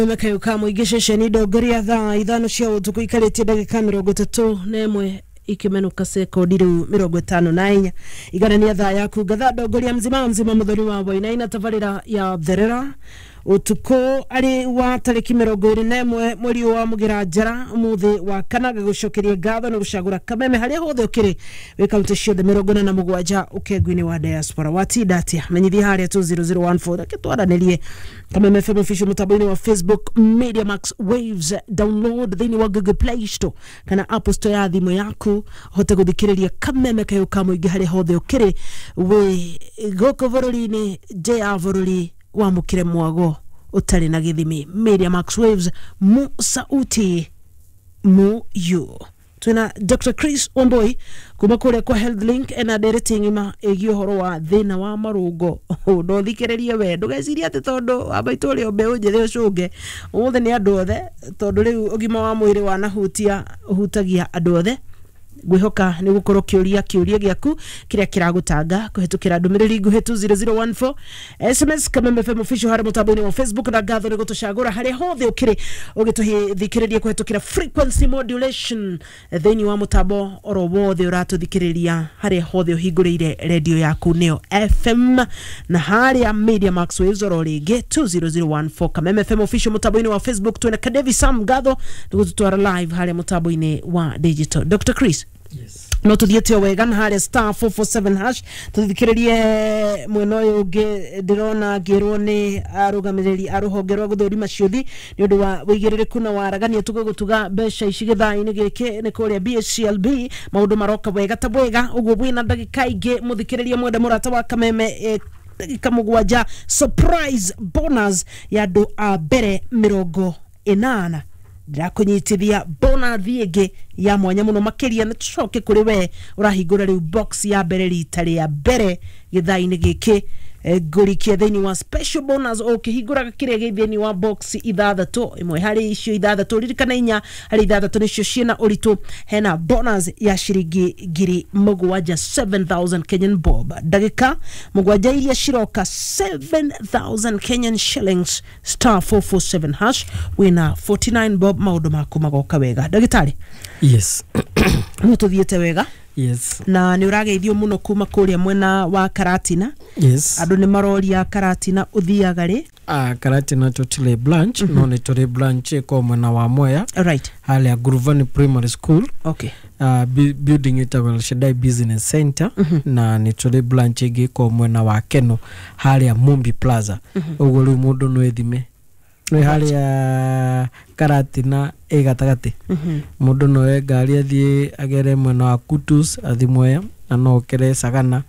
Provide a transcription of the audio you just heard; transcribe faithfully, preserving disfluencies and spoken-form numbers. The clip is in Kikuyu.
Kameme ka mũingĩ, ceceni ndongoria, thaa ithano cia ũtukũ ikarĩtie ndagĩka mĩrongo ĩtatũ na ĩmwe ikimenuka sekondi rĩu mĩrongo ĩtano na inya. Iganania thaa yaku ngatha ndongoria mzima mzima mũthoni wa Wainaina, tabarĩra ya Therera ũtukũ arĩ wa tarĩki mĩrongo ĩrĩ na ĩmwe mweri ũyũ wa Mũgĩra Njara, ũmũthĩ wa kana. Gagũcokeria ngatho nĩ gũcagũra Kameme harĩa hothe ũkĩrĩ wĩ kaunti ciothe mĩrongo ĩna na mũgwanja ũkengu-inĩ wa diaspora. Watinda atĩa? Menyithia harĩa two zero zero one four, reke twaranĩrie. Kameme F M Official mũtambo-inĩ wa Facebook, Media Max Waves, download thĩinĩ wa Google Play Store kana Apple Store ya thimũ yaku ũhote gũthikĩrĩria Kameme kayũ ka mũingĩ harĩa hothe ũkĩrĩ wĩ gũkũ bũrũri-inĩ, nja ya bũrũri. Wamũkĩre mwago ũtarĩ na gĩthimi. Media Max Waves, mu sauti mu yu. Twina Doctor Chris Wamboi kuma kũrĩa kwa Health Link ena ndereti ng'ima ĩgiĩ ũhoro wa thĩna wa marũngo. Ndũthikĩrĩrie we, ndũgecirie atĩ tondũ wa maitũ ũrĩa mbeũ njĩthĩ ũcũnge ũmũthĩ, nĩ andũ othe, tondũ rĩu ũgima wa mwĩrĩ wanahutia ũhutagia andũ othe. Ngwĩhoka nĩ gũkorwo kĩũria kĩũria gĩaku kĩrĩa kĩragũtanga kũhetũkĩra ndũmĩrĩri nguhĩ two zero zero one four, S M S, Kameme F M Official harĩ mũtambo-inĩ wa Facebook. Na ngatho nĩ gũtũcagũra harĩa hothe ũkĩrĩ ũgĩtũthikĩrĩria kũhetũkĩra frequency modulation thĩinĩ wa mũtambo oro wothe ũratũthikĩrĩria, harĩa hothe ũhingũrĩire redio yaku nĩyo F M na harĩa Media Max Waves oro rĩngĩ two zero zero one four, Kameme F M Official mũtambo-inĩ wa Facebook. Twĩna Kadevi Sam, ngatho nĩ gũtũtwara live harĩa mũtambo-inĩ wa digital. Doctor Chris, Yes. no tuthiĩte o wega na harĩa star four four seven hash. Tũthikĩrĩrie mwena ũyũ ũngĩ, ndĩrona ngĩrwo nĩ arũgamĩrĩri a rũhonge rwa gũthũrima ciũthi nĩ ũndũ wa wĩigĩrĩrĩku na waragania tũgũgũtuga mbeca ici gĩthaa-inĩ gĩkĩ nĩ kũrĩa B H C L B. Maũndũ maroka wega ta wega ũguo wĩna ndagĩka ingĩ, mũthikĩrĩria mwende mũrata wa Kameme, eh, ndagĩka mũgwanja, surprise bonus ya andũ a mbere mĩrongo ĩnana. Ndĩrakũnyitithia bonus ĩngĩ ya mwanya mũno makĩria. Nĩ tũcoke kũrĩ we ũrahingũra rĩu box ya mbere rita rĩa mbere gĩthaa-inĩ gĩkĩ, eh, ngũrikie thĩinĩ wa special bonus ũkĩhingũraga kĩrĩa gĩ thĩinĩ wa box ithathatũ. Ĩmwe harĩ icio ithathatũ, ririkana inya harĩ ithathatũ nĩcio ciĩna ũritũ, hena bonus ya ciringi ngiri mũgwanja, seven thousand Kenyan bob. Ndagĩka mũgwanja iria ciroka, seven thousand Kenyan shillings, star four four seven hash, wĩna forty-nine bob, maũndũ maku magoka wega. Ndagĩtarĩ, Yes. no tũthiĩte wega? Yes. Na nĩ ũrageithio mũno kuma kũrĩa mwena wa Karatina. Yes. Andũ nĩ maroria Karatina ũthiaga rĩ? Ah, Karatina tũtirĩ branch, no nĩ tũrĩ branch ĩkoragwo mwena wa Mwea, right harĩa Guruvani Primary School, okay uh, bu- building ĩtagwo El Shaddai Business Center, na nĩ tũrĩ branch ĩngĩ ĩkoragwo mwena wa Keno harĩa Mumbi Plaza. Ũguo rĩu mũndũ no ethime nĩ harĩa Karatina ĩ gatagatĩ. Mũndũ no oe ngari athiĩ agere mwena wa Kutus, athiĩ Mwea, na no okere Sagana.